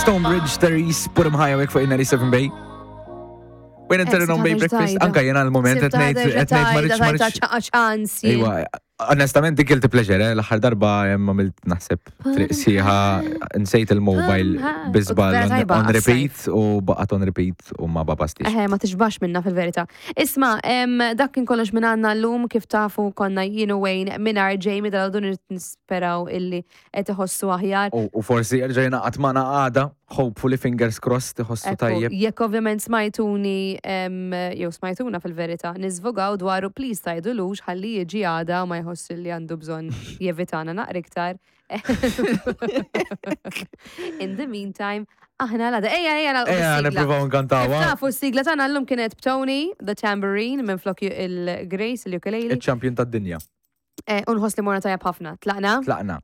Stonebridge, Therese, put 'em high awake fuq il-97 Bay. When inter on Bay Breakfast, anka jena l-moment qed ngħid qed ngħid ma rridx ma rridx. ċans. Ejwa, onestament dik guilty pleasure, eh, l-aħħar darba hemm għamilt naħseb triq sieħa nsejt il-mobile bi żball Vera on tajba on għas-sajf. repeat u baqgħet on repeat u ma babastix. Eħe, ma tixbax minna fil-verità. Isma, em, dak kien kollox minn għandna llum kif tafu konna jien u Wayne mingħajr Jamie dal-għodu nisperaw illi qed iħossu aħjar. U forsi jerġa' jingħaqad magħna għada, hopefully fingers crossed iħossu tajjeb. Jekk ovvjament smajtuni jew smajtuna fil-verità niżvogaw dwaru please tgħidulux ħalli jiġi għada u ma jħoss li għandu bżonn jevitana naqra iktar. In the meantime, aħna l-għada. Ejja, ejja, nagħlqu Ejja, bis-sigla. nippruvaw nkantawha. Kif tafu s-sigla tagħna llum kienet b'Tony, the tambourine, minflok il-Grace, il-ukulele. Iċ-champion tad-dinja. Eh, u nħoss li morna tajjeb ħafna. Tlaqna? Tlaqna.